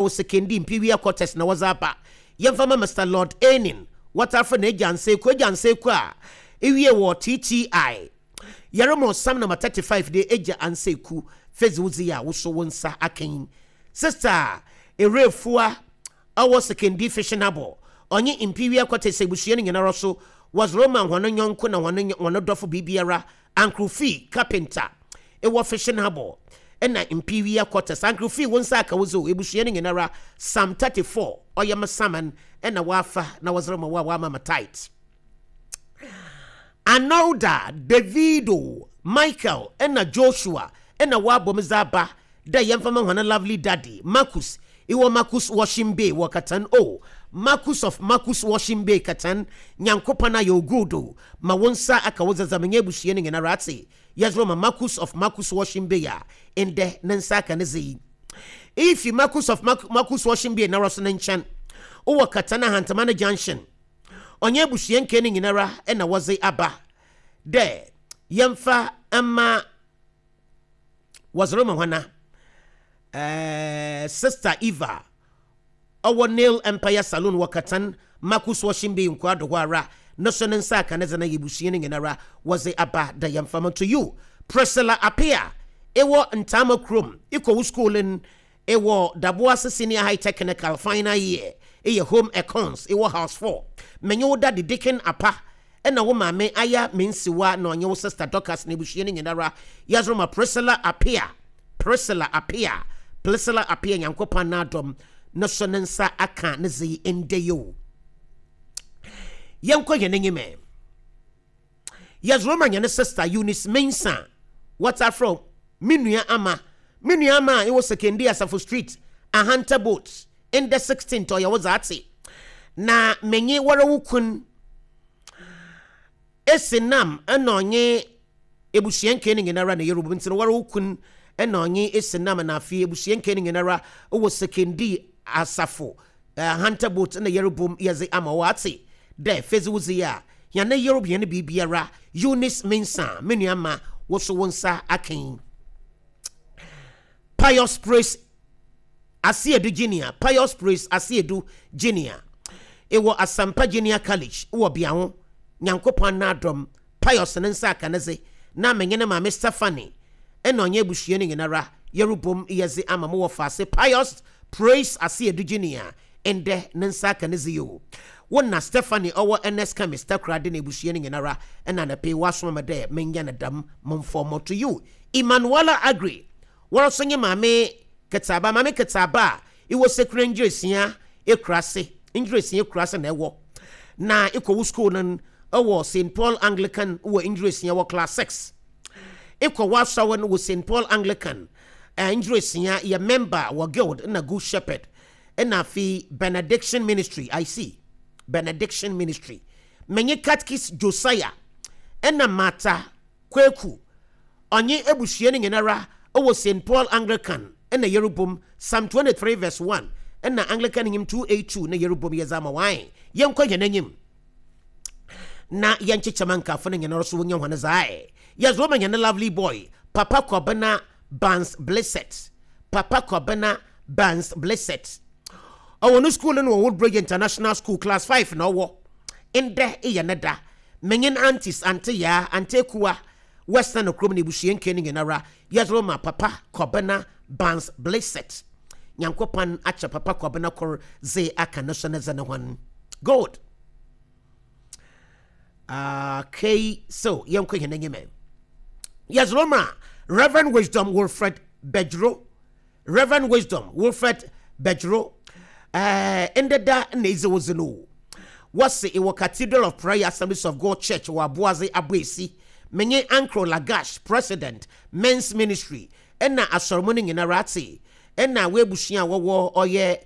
Wɔ Sekondi Mpiwia Quarters na wɔdze aba. Yɛmfa ma Mister Lord Enin, wɔtaa frɛ no Agya Nseku, Agya Nseku a ewie wɔ TTI. Yɛrema ɔsam number 35 de Agya Anseku fedzi wo dze yi a wo so wo nsa aka yi. Sister Ewurefua ɔwɔ Sekondi Fishing Harbour, ɔnye Mpiwia Quarters ebusua no nyinara so wɔdze rema hɔn nyɔnko na hɔn hɔn dɔfo biribiara Uncle Fee carpenter ewɔ Fishing Harbour na Mpiwia Quarters. Uncle Fee wo nsa aka wo dze o, ebusua no nyinara Psalm 34 ɔyɛ me saman na wɔafa na wɔdze rema wo a wɔama me tight. Arnolda, Davido, Michael na Joshua na wɔabɔ me dze aba dɛ yɛmfa ma hɔn lovely daddy, Marcus, ewɔ Marcus Washing Bay wɔ Katan oh, Marcus of Marcus Washing Bay, Katan, Nyankopɔn ayɛ wo good o, ma wo nsa aka wo dzadza menye ebusua no nyinara atse, yɛdze rema Marcus of Marcus Washing Bay a ndɛ ne nsa aka ne dze yi. Iyi fi Marcus of Marcus Washing Bay noara so ne nkyɛn, wɔ Katan Ahantaman Junction. Ɔnye ebusua nkaa no nyinara na wɔdze aba dɛ yɛmfa mma Wɔdze rema hɔn a, Sister Eva ɔwɔ Nail Empire Saloon wɔ Katan, Marcus Washing Bay Nkoado hɔ ara no so ne nsa aka ne dze na ebusua no nyinara wɔdze aba dɛ yɛmfa mma. To you, Priscilla Appiah, ewɔ Ntaama kurom, ekɔ wo skuul n ewɔ Daboase Senior High Technical final year, eyɛ Home Econs, ewɔ House 4. Menye wo daddy Deacon Apa na wo maame Aya Mensiwa na ɔnye wo sister Dorcas na ebusua no nyinara yɛdze rema Priscilla Appiah, Priscilla Appiah, Priscilla Appiah Nyankopɔn n'adom no so ne nsa aka ne dze yi ndɛ yi o. Yɛnkɔ hɛn enyim ɛ. Yɛdze rema hɛn sister Eunice Mensah, wɔtaa frɛ wo Me nua Ama, Me nua Ama a ewɔ Sekondi Asafo Street, Ahanta Boat, ndɛ 16th ɔyɛ wo dze atse na menye woara wo kun esi nam na ɔnye ebusua nkaa no nyinara na yerobu ntsi no woara wo kun na ɔnye esi nam na afei ebusua nkaa no nyinara wɔ Sekondi Asafo Hunter Boat na yerobom yɛdze ama wo atse dɛ fedze wo dze yi a hɛn yerob hɛn biribiara Eunice Mensah me nua ma wo so wo nsa aka yi Pius Praise Asiedu Junior, Pius Praise Asiedu Junior, ewɔ Asampa Junior College wɔ Biaho, Nyankopɔn n'adom, Pius ne nsa aka ne dze, na menye ne maame Stephanie na ɔnye ebusua no nyinara yerobɔ mu yɛdze ama mo wɔfaase Pius Praise Asiedu Junior, ndɛ ne nsa aka ne dze yi o. Wo na Stephanie ɔwɔ Ernest Chemist Takoradi na ebusua no nyinara na anapa yi wɔasoma me dɛ menyɛ no dɛm, momfɔw to you. Emmanuella Aggrey, Woara so nye Maame Ketseaba. Maame Ketseaba a ewɔ Sekura Ngyerɛsia ekurase, Ngyerɛsia ekurase na ewɔ. Na ekɔ wo skuul no wɔ Saint Paul Anglican wɔ Ngyerɛsia wɔ class 6. Ekɔ w'asɔr no wɔ Saint Paul Anglican Ngyerɛsia, eyɛ member wɔ Guild na Good Shepherd na afei Benediction Ministry, I see, Benediction Ministry. Menye Catechist Josiah na Martha Kweku, ɔnye ebusua no nyinara wɔ Saint Paul Anglican na yerobom, Psalm 23 verse 1 na Anglican Hymn 282 na yerobom yɛdze ama wo ae. Yɛnkɔ hɛn enyim na yɛnkyekyɛ ma nkaafo no nyinara so wonya hɔn dze ae. Yɛdze rema hɛn lovely boy, Papa Kwabena Barnes Blissett, Papa Kwabena Barnes Blissett. Ɔwɔ no skuul no wɔ Woodbridge International School, class 5 na ɔwɔ. Ndɛ eyɛ ne da. Menye n'aunties, Aunty Yaa, Aunty Ekuwa, Western kurom na ebusua nkaa no nyinara, yɛdze rema Papa Kɔbena Barnes Blissett. Nyankopɔn akyɛ Papa Kɔbena kor dze aka no so ne dze no hɔn. Good. Okay, so yɛnkɔ hɛn enyim ɛ. Yɛdze rema Reverend Wisdom Wilfred Bedro. Rev. Wisdom Wilfred Bejro, eh, ndɛ da na edzi wo dze no o. Wɔse ewɔ Cathedral of Prayer Assemblies of God Church wɔ Aboadze Aboesi. Menye Ankro Lagash, President, Men's Ministry, na Asɔrmu no nyinara atse, na w'ebusua a wɔwɔ ɔyɛ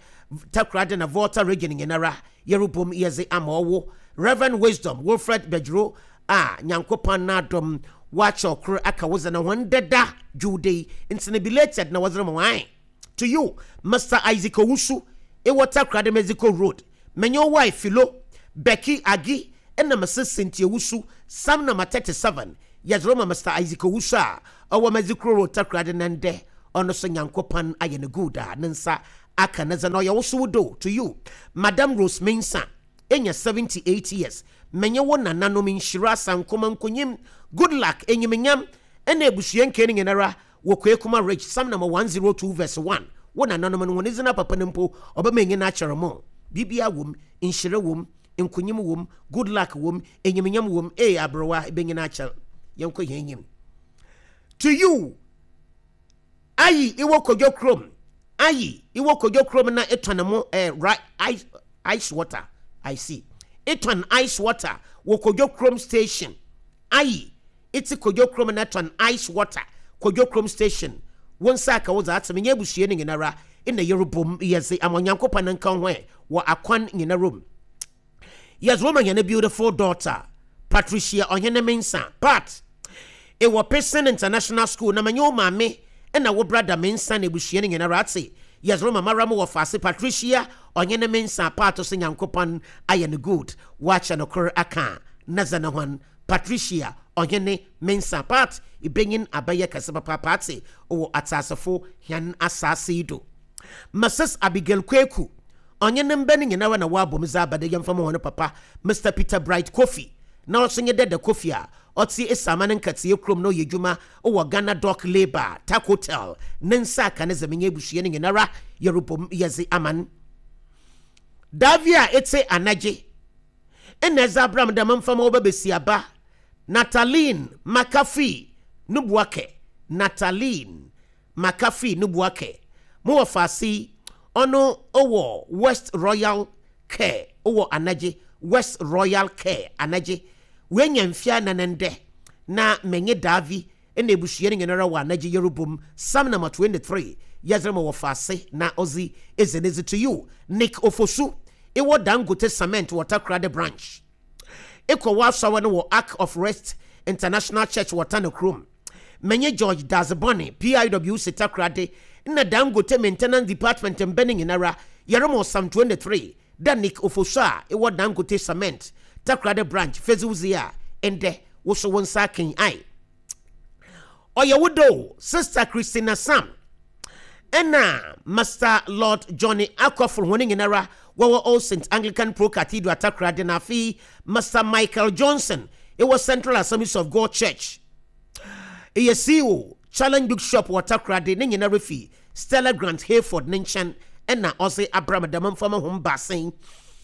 Takoradi na Volta Region nyinara yerobɔ mu yɛdze ama ɔwo Rev. Wisdom Wilfred Bejro a Nyankopɔn n'adom wɔakyɛ ɔkor aka wo dze no ho ndɛ da dwowda yi ntsi no belated na wɔdze rema wo ae to you Mister Isaac Owusu ewɔ Takoradi Mexico road menye wo wife Philo Becky Agi na Mrs Cynthia Owusu Psalm number 37 yɛdze rema Mister Isaac Owusu a ɔwɔ Mexico road Takoradi na ndɛ ɔno so Nyankopɔn ayɛ no good a ne nsa. aka ne dze na ɔyɛ wo so wo do to you Madam Rose Mensah enya 78 years menye wo nananom nhyira Sankoma Nkonyim Goodluck Enyimnyam na ebusua nkaa no nyinara wɔ Kwekuma Ridge Psalm number 102 verse 1 wo nananom no hɔn dzin apapa no mpo ɔbɛma enyin akyɛr mo biribiara wɔ mu nhyira wɔ mu nkonyim wɔ mu good luck wɔ mu enyimnyam wɔ mu ee aberewa ebenyin akyɛr yɛnkɔ hɛn enyim to you Ayi iwɔ Kojo kurom Ayi iwɔ Kojo kurom na etɔn mo eh, ri ice, ice water I see etɔn ice water wɔ Kojo kurom station Ayi etse Kojo kurom na etɔn ice water Kojo kurom station Wo nsa aka wo dza atse menye ebusua no nyinara nna yerobom yɛdze ama Onyankopɔn nka ho ɛ wɔ akwan nyinara mu Yes, woman hɛn beautiful daughter, Patricia Ɔhene Mensah, Pat, ewɔ Pearson International School na menye wo maame na wo brada Mensah na ebusua no nyinara atse. Yes, wo mama ara mo wɔfaase Patricia Ɔhene Mensah, Pat so Nyankopɔn ayɛ no good, ɔakyɛ no kor aka na dza na hɔn Patricia Ɔhene Mensah, Pat, ibenyin abɛyɛ kɛse papaapa atse wɔ atseasefo hɛn asaase yi do. Mrs Abigail Kweku, ɔnye ne mba no nyinara na wɔabɔ mu dze aba dɛ yɛmfa ma hɔn papa, Mister Peter Bright Kofi, na ɔso nye Dada Kofi a ɔtse Esiama ne Nkatsia kurom na ɔyɛ edwuma wɔ Ghana Dock Labour Tacotel ne nsa aka ne dze menye ebusua no nyinara yɛrobɔ mu yɛdze ama no. Davi a etse anagye nna edze abra me dɛ memfa ma wo ba basiaba Nataline Makafui Nubuakɛ, Nataline Makafui Nubuakɛ, mo wɔfaase yi, ɔno owɔ West Royal Care owɔ Anagye, West Royal Care, Anagye. Oenya mfe anan ndɛ, na menye Davi na ebusua no nyinara wɔ Anagye yerobɔ mu, Psalm number 23, yɛdze rema wɔfaase na ɔdze edzi ne dze to you, Nick Ofosu, ewɔ Dangote Cement wɔ Takoradi Branch. Ekɔ w'asɔr no wɔ Ark of Rest International Church wɔ Tano kurom. Menye George Dadzie-Bonney, PIWC Takoradi, nna Dangote Maintenance Department mba no nyinara, yɛrema Psalm 23 dɛ Nick Ofosu a ewɔ Dangote Cement, Takoradi Branch, fedzewdzi a ndɛ wo so wo nsa aka yi ae. Ɔyɛ wo dɛ o, Sister Christina Sam nna Master Lord Johnny Akɔfor hɔn nyinara wɔwɔ All Saints Anglican Pro Cathedral Takoradi na afei Master Michael Johnson ewɔ Central Assemblies of God Church. Eyɛ CEO, Challenge Book Shop wɔ Takoradi, ne nyinara fi Stella Grant Hayford ne nkyɛn na ɔdze abra me dɛm mfa ma hom baasa yi.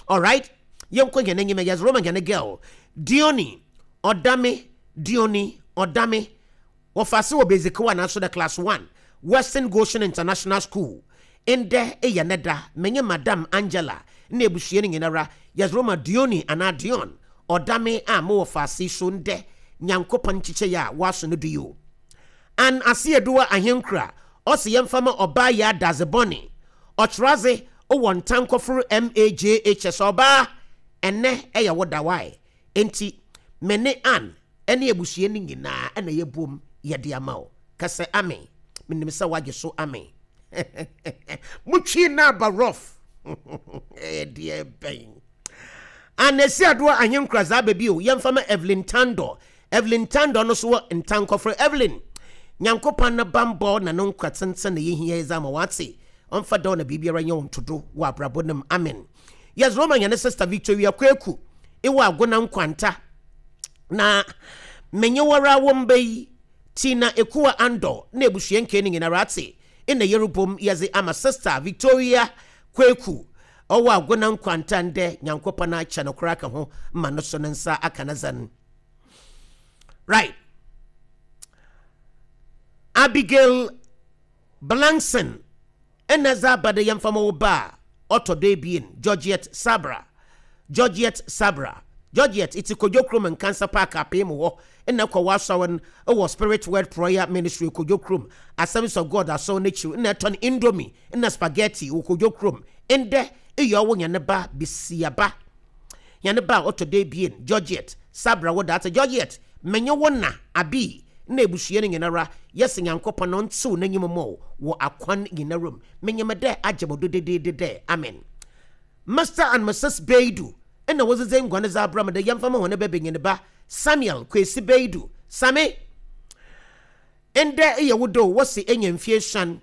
Alright, yɛnkɔ hɛn enyim, yɛdze rema hɛn girl, Dione Ɔdame, Dione Ɔdame, wɔfa ase wɔ Basic 1 naaso dɛ Class 1, Western Goshen International School. Ndɛ eyɛ ne da, menye Madam Angela na ebusua no nyinara yɛdze rema Dione anaa Dion Ɔdame a mowɔ faase yi so ndɛ, Nyankopɔn nkyekyɛe a wɔaso no do yi o. Ann Asieduwa Ahenkura ɔse yɛmfa ma ɔbaa Yaa Dadze Bɔne, Ɔkyerɛadze wɔ Ntankɔfor MAJHS Ɔbaa, ɛnnɛ yɛ wo da wai, ntsi me ne Ann ne abusua no nyinaa na yɛbom yɛde ama wo. Ka sɛ amen. Menim sɛ woagye so amen. Motwii no aba rough. Ɛyɛ deɛ bɛn. Anesi Adoa Ahenkura dza aba bio, yɛmfa ma Evelyn Tandor. Evelyn Tandor no so wɔ Ntankɔfrɛ. Evelyn, Nyankopɔn ne bambɔ na no nkwa tsentsen na yehia dze ama wo atse. Ɔmfa dɛw na biribiara nyɛ wo ntodo wɔ abrabɔ no mu. Amen. Yɛdze rema hɛn sister Victoria Kweku ewɔ Agona Nkwanta. Na menye woara wo mba yi, Tina Ekua Andor na ebusua nkaa no nyinara atse nna yerobɔ mu yɛdze ama sister Victoria Kweku ɔwɔ Agona Nkwanta ndɛ Nyankopɔn akyɛ no kor aka ho ma no so ne nsa aka ne dzen. Right. Abigail Blankson nna dze aba dɛ yɛmfa ma wo ba a ɔtɔ do ebien, Georgiette Sabra. Georgiette Sabra. Georgiette, etse Kodwo Kurom Nkansa Park apee mu hɔ nna ekɔ w'asɔr no wɔ Spirit Word Prayer Ministry Kodwo Kurom, Assemblies of God asɔr n'ekyir nna etɔn indomie nna spaghetti wɔ Kodwo Kurom. Ndɛ eyɛ ɔwo hɛn ba basiaba. Hɛn ba a ɔtɔ do ebien, Georgiette, Sabra wo daatse. Georgiette, menye wo na, Abi, na ebusua no nyinara, yɛse Nyankopɔn ɔntsew n'enyim mma wo wɔ akwan nyinara mu. Minyim dɛ agye mo do dedeede dɛ. Amen. Mister and Misus Beidu na wɔdzedze nguan dze abra me dɛ yɛmfa ma hɔn ba banyin ba, Samuel Kwesi Beidu. Sammy, ndɛ eyɛ wo dɛ o, wɔse enya mfe esuon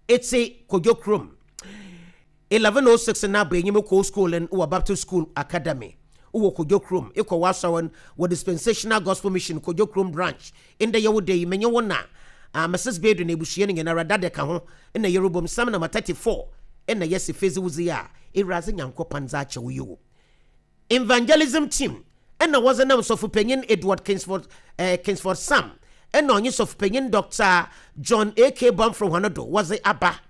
etse Kodwo kurom. 11:06 na abɔ enyim kɔ school no wɔ Baptist School Academy wɔ Kodwo Kurom, ekɔ w'asɔr no wɔ Dispensational Gospel Mission Kodwo Kurom Branch. Ndɛ yɛ wo da yi, menye wo na Mrs. Bedu na ebusua no nyinara, Dada ka ho, na yerobɔ mu. Psalm number 34 na yɛse fedzi wo dze a Ewuradze Nyankopɔn dze akyɛ wo yi o. Evangelism Team na wɔdze nam Sɔfopanyin Edward Kingsford eh, Kingsford Sam na ɔnye Sɔfopanyin Dɔkta John A. K. Bamford hɔn do wɔdze aba.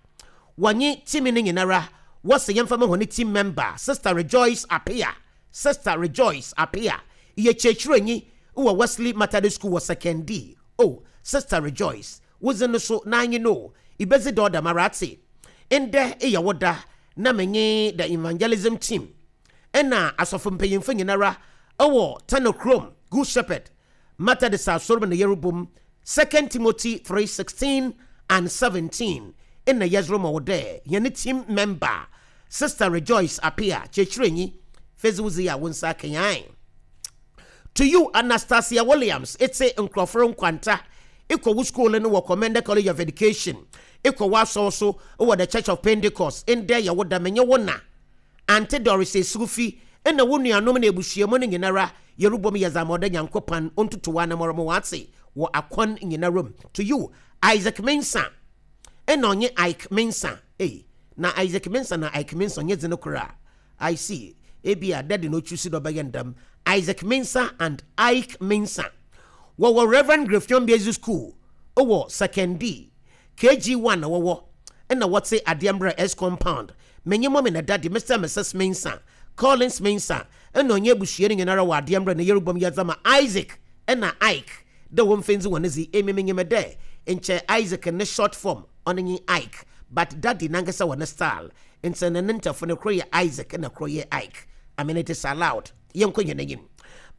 Wɔnye team no nyinara wɔse yɛmfa ma hɔn team member Sister Rejoice Appiah, Sister Rejoice Appiah, eyɛ kyerɛkyerɛnyi wɔ Wesley Methodist School wɔ Sekondi. Oh, Sister Rejoice, wo dzin no so n'anye no o, ibedzi dɛ ɔdɛmara atse. Ndɛ eyɛ wo da na menye the Evangelism Team nna asɔfo mpanyimfo nyinara wɔ Tano kurom Good Shepherd Methodist Asɔr mu na yerobɔ mu Second Timothy 3:16 and 17 nna yɛdze roma wo dɛ hɛn team member Sister Rejoice Appiah, kyerɛkyerɛnyi, fedze wo dzi a wo nsa akenyan. To you Anastasia Williams, etse nkorɔfo nkwanta, ekɔ wo skuul no wɔ Commenda College of Education, ekɔ w'asɔr so wɔ The Church of Pentecost, ndɛ yɛ wo da, menye wo na Aunty Doris Esufi na wo nuanom na ebusua mu no nyinara yerobɔ mu yɛ dza ma ɔda Nyankopɔn ontutu w'anamɔn ma ɔatse wɔ akwan nyinara mu. To you, Isaac Mensah nna ɔnye Ike Mensah ei, na Isaac Mensah na Ike Mensah ɔnnyɛ dzin kor a, I see, ebia daddy na ochoose dɛ ɔbɛyɛ no dɛm, Isaac Mensah and Ike Mensah wɔwɔ Rev. Greffion Basic School wɔ Sekondi, KG1 na wɔwɔ, nna wɔtse Adeɛmbrɛ S Compound, Menye Mommy na Daddy, Mister and Mrs Mensah, Collins Mensah, nna ɔnye ebusua no nyinara wɔ adeɛ mbrɛ na yerubɔ mu yɛdze ama Isaac na Ike dɛ wɔmfa ndzi hɔn dzi. Emi minyim dɛ nkyɛ Isaac ne short form ɔno nye Ike, but Daddy nankasa wɔ ne style, ntsi no ne ntafo no kor yɛ Isaac na kor yɛ Ike. I mean it is allowed. Yɛnkɔ hɛn enyim.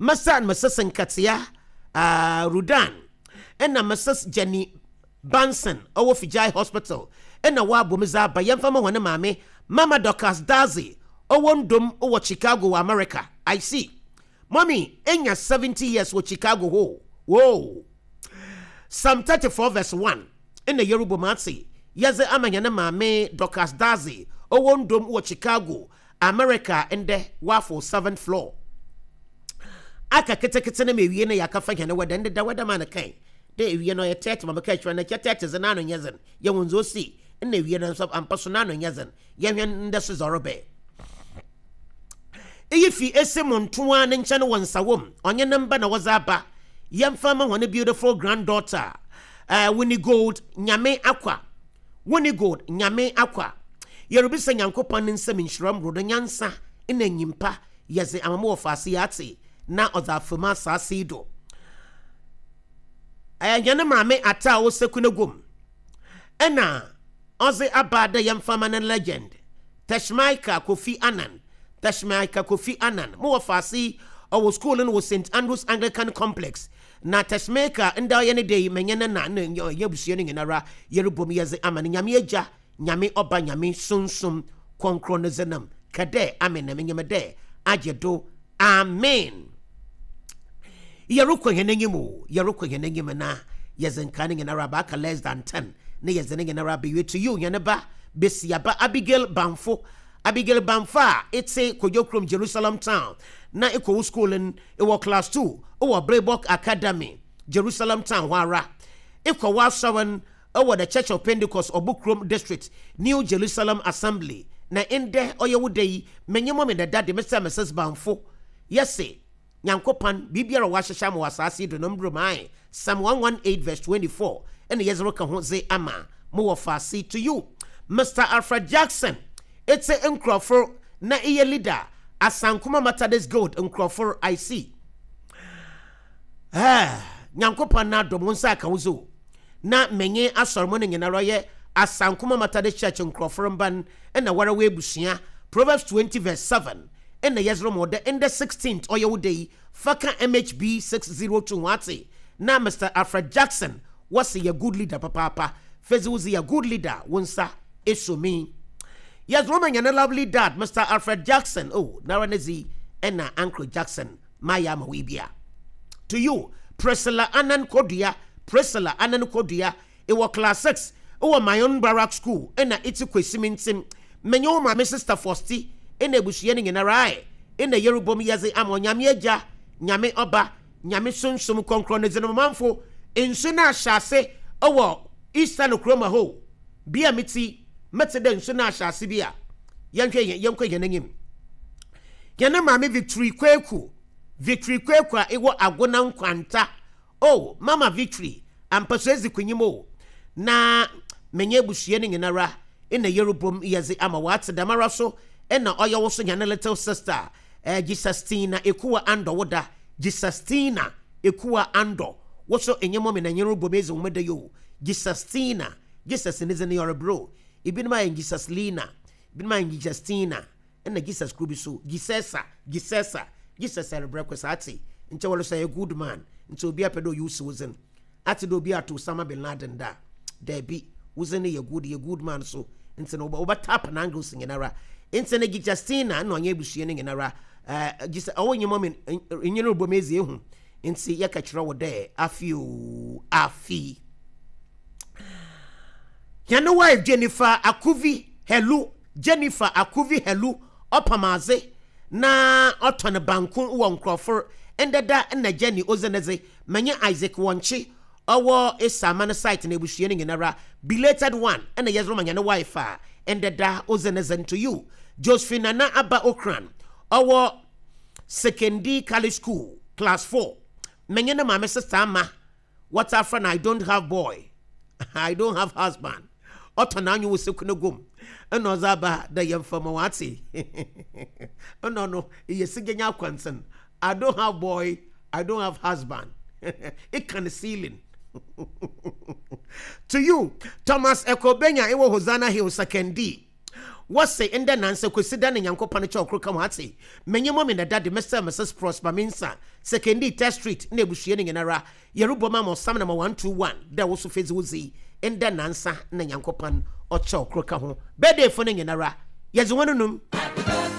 Mister and Mrs Nkatsia, uh, Rudan, nna Mrs Jenny Banson ɔwɔ Fijai Hospital na wɔabɔ mu dze aba yɛmfa ma hɔn maame Mama Dorcas Dadzie ɔwɔ Ndom wɔ Chicago wɔ America. I see. Mommy enya 70 years wɔ Chicago hɔ o. Whoa! Psalm 34 verse 1 na yerobɔ mu atse yɛdze ama hɛn maame Dorcas Dadzie ɔwɔ Ndom wɔ Chicago, America ndɛ wɔafow seventh floor. Aka ketseketse na ma ewie na yɛakɛfa hɛn wɛda ndeda wɛda ma no kɛn. Dɛ ewia no ɔyɛ tɛɛtse ma mekãa kyerɛ no, nkyɛ tɛɛtse dze n'ano nnyɛ dzen, yehu dza osii, nna ewia no so ampa so n'ano nnyɛ dzen, yɛhwɛ ndɛ so dza ɔrebɛn. Iyi fi ese mu ntoaa ne nkyɛn wɔ Nsawam, ɔnye ne mba na wɔdze aba, yɛmfa mma hɔn beautiful granddaughter, uh, Winnie Gold Nyame Akwa, Winnie Gold Nyame Akwa. Yerubisa Nyankopɔn ne nsamu nhyira mbrodo, nyansa na nyimpa yɛdze ama mo wɔfaase yi atse na ɔdze afamu asaase yi do. Ɛyɛ hɛn maame Atta a ɔwɔ Sekunegum na ɔdze aba dɛ yɛmfa mma no legend, Teshmica Kofi Annan, Teshmica Kofi Annan. Mo wɔfaase yi, ɔwɔ skuul no wɔ Saint Andrews Anglican Complex, na Teshmica ndɛ ɔyɛ ne dɛ yi, menye ne na na hɛn ebusua no nyinara yerobɔ mu yɛdze ama no. Nyame Egya, Nyame Ɔba, Nyame Sunsum Krɔnkrɔn ne dzin mu, kɛ dɛ amen na minyim dɛ agye do. Amen. Yɛrokɔ hɛn enyim o, yɛrokɔ hɛn enyim na yɛdze nkaa no nyinara aba, aka less than ten na yɛdze ne nyinara abewie. To you, hɛn ba basiaba Abigail Bamfo, Abigail Bamfo a etse Kodwo Kurom, Jerusalem Town, na ekɔ wo skuul no, ewɔ class two wɔ Blebok Academy, Jerusalem Town hɔ ara. Ekɔ w'asɔr no wɔ The Church of Pentecost, Ɔbo Kurom District, New Jerusalem Assembly, na ndɛ ɔyɛ wo da yi, menye mo me na daddy, Mr. and Mrs. Bamfo, yɛse, Nyankopɔn, biribiara a ɔahyehyɛ ama wɔ asaase yi do no mbrɛ mu ae, Psalm 118 verse 24, na yɛdze reka ho dze ama mo wɔ faase to you, Mister Alfred Jackson, etse nkorɔfor na eyɛ leader, Asankoma Methodist Guild nkorɔfor, I see. Eh, Nyankopɔn n'adom, wo nsa aka wo dze o. Na menye asɔr mu no nyinara ɔyɛ Asankoma Methodist Church nkorɔfor mba n' na woara w'ebusua. Proverbs 20 verse 7 nna yɛdze rema wo dɛ ndɛ 16th ɔyɛ wo da yi, fa ka MHB 602 ho atse. Na Mister Alfred Jackson wɔse yɛ good leader papaapa. Fedze wo dze yɛ good leader, wo nsa esuo me. Yɛdze rema hɛn lovely dad Mister Alfred Jackson, oh, noara ne dze yi na Uncle Jackson mayɛ ama wo yi bia. To you, Priscilla Annan Kodua, Priscilla Annan Kodua, ewɔ class 6 wɔ Mayon Barrack School na etse Kwesi Mintsim. Menye wo maame Sister Fosti na ebusua no nyinara ae nna yerobɔ mu yɛdze ama Onyame Egya, Nyame Ɔba, Nyame Sunsum Krɔnkrɔn ne dzin. Ɔmanfo, nsu no ahyɛ ase wɔ Easter no kurom hɔ o. Bea a metse yi, metse dɛ nsu no ahyɛ ase bi a. Yɛnhwɛ hɛn, yɛnkɔ hɛn enyim. Hɛn maame Victory Kweku, Victory Kweku a ewɔ Agona Nkwanta. Oh mama victory ampa so edzi konyim o Na menye ebusua no nyinara nna yerobom yɛdze ama wo Atse dɛmara so nna ɔyɛ wo so hɛn little sister eh Jesustina Ekuwa Andɔ wo da Jesustina Ekuwa Andɔ Wo so enye mɔmi na nye robom edzi homeda yi o Jesustina Jesus ne dzin yɔrebrɛ o Ibinom ayɛ Jesuslina ibinom ayɛ Jesustina Nna Jesus kor bi so, Gisesa, Gisesa, Jesus rebrɛ kɔ saa atse, nkyɛ wɔresɔ yɛ good man, nkyɛ obi apɛ dɛ ɔyɛ wo si wo dzen. Atse dɛ obi ato Osama bin Laden da a? Dabi, wo dzin no yɛ good, yɛ good man so, ntsi no wɔbɛ tap n'angles nyinara. Ntsi no Gijastina nna ɔnye ebusua no nyinara, eh, Gisa, ɔwo nye mɔmi, nye no robɔ mu edzi ehu, ntsi yɛka kyerɛ wo dɛ afe o, afe. Hɛn wife Jennifer Akuvi Helu Jennifer Akuvi Helu ɔpam adze na ɔtɔn banku wɔ nkorɔfor ndɛ da na Jenny odzi ne dze menye Isaac Wɔnkye ɔwɔ Esaama no site na ebusua no nyinara belated one na yɛdze rema hɛn wife a ndɛ da odzi ne dze to you Josephine Nana Aba Okran ɔwɔ Sekondi College School class 4 menye ne maame sister Ama Wɔtaa frɛ no I don't have boy, I don't have husband. Ɔtɔ n'anwo wɔ seku no gum. Ɛna ɔdze aba dɛ yɛmfa ma wɔatse. Ɛna ɔno eyɛ sigenya akwansen. I don't have boy, I don't have husband. Eka no ceiling. To you, Thomas Ekobenya ewɔ Hosanna Hill, Sekondi. Wɔse ndɛ nansɛ Kwesida na Nyankopɔn kyɛw kor ka ho atse. Menye mummy na daddy, Mr and Mrs Prosper Mensah, Sekondi, Test Street na ebusua no nyinara yɛrobɔ mu ama ɔsam number 121 dɛ wo so fedzi wo dzi ndɛ nansa na Nyankopɔn ɔkyɛw kor ka ho. Birthday fo no nyinara yɛdze hɔn num.